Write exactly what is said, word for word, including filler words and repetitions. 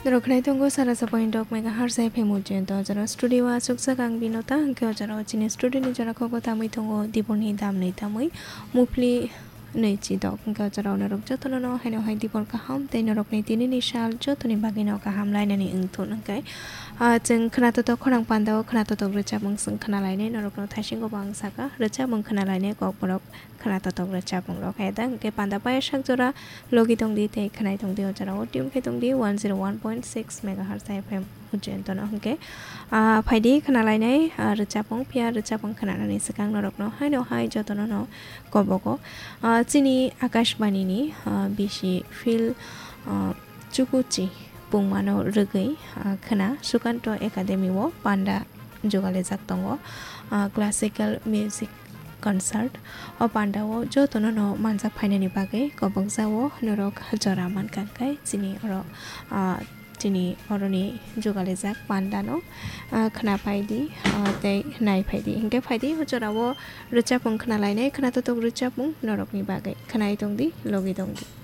Norok khnai tongo sara sapai dok megahertz F M ujento, o jora studio o achukjak ang Binota, hwnkhe o jora o chini studio ni jora kok o tamwi tongo Diporni damni tamwi Mupli nwi chidok, hwnkhe o jora o norok jotono no haino hai Dipor kaham tei norokni tinini sal jotoni bagwi no kaham lainani wngthun hwnkhe, ah, chwng khwnatotok khorang panda o khwnatotok rwchapmung chwng khna lainai, norokno thaisingo bo ang sakha rwchapmung khna lainai kokborok khwnatotok rwchapmung rok. Hai da hwnkhe panda paya sak jora logi tongdi tei khwnai tongdi, o jora o tune khe tongdi one zero one point six megahertz F M ujento no hwnkhe, ah, phaidi khna lainai, ah, rwchapmung, phiya rwchapmung khwnanani swkang norokno haino hai jotono no kobogo, ah, chini Akashbani ni, ah, bisi field, ah, chukuchi pungmano rwgwi, ah, khwna Sukanto Academy o panda jugalijak tongo, ah, classical music concert. O panda o jotono no manjak phainani bagwi kobokjao norok jora mankha, hwnkhe chini oro, ah, chini oroni jugalijak panda no, ah, khna phaidi, ah, tei nai phaidi. Hwnkhe phaidi o jora o rwchapmung khna lainai, khwnatotok rwchapmung norokni bagwi. Khwnai tongdi, logi tongdi.